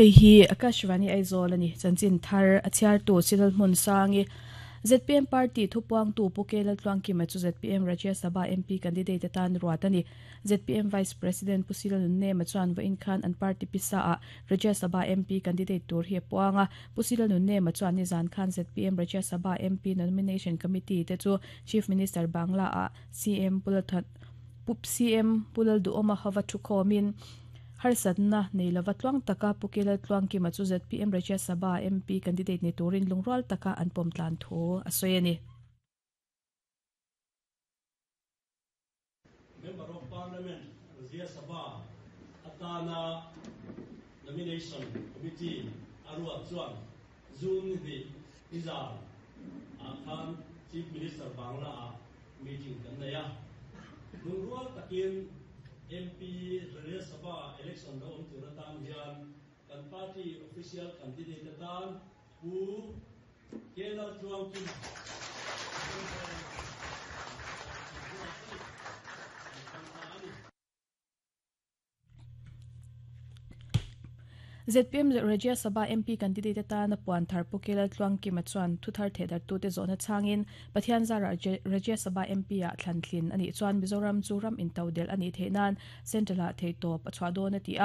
Hei hi Akashvani Aizawl a ni. Chanchin thar a chhiartu Chinal Hmunsangi, zpm party thupuangtu Pu K Laltluangkima chu zpm Rajya Sabha MP candidate atan ruat a ni. Zpm Vice President Pu Sila Nunnema chuan vawiin khan an party pisa ah Rajya Sabha MP candidate tur hi a puang a. Pu Sila Nunnema chuan nizan khan zpm Rajya Sabha MP Nomination Committee te chu Chief Minister Bangla ah CM Pu CM Pu Lalduhawma hova thukhawmin Harsatna nei lova tluang taka Pu Kelal Tluangkima chu zpm Rajya Sabha MP candidate ni turin lungrual taka an pawm tlan thu a sawi a ni. Member of Parliament Rajya Sabha atana Nomination Committee a ruat chuan June ni hnih nizan ah khan Chief Minister Bangla ah meeting kan nei a. Lungrual takin MP Rajya Sabha election lo awm tur atan hian kan party official candidate atan Pu Kelal Tluangkima Zpm Rajya Sabha MP candidate atana puan thar Pu Kelal Tluangkima chuan thuthar thehdarhtute zawhna chhangin Pathian zarah Rajya Sabha MP ah thlan thlin a nih chuan Mizoram chu ram intodelh a nih theih nan Central ah theihtawp a chhuah dawn a ti a.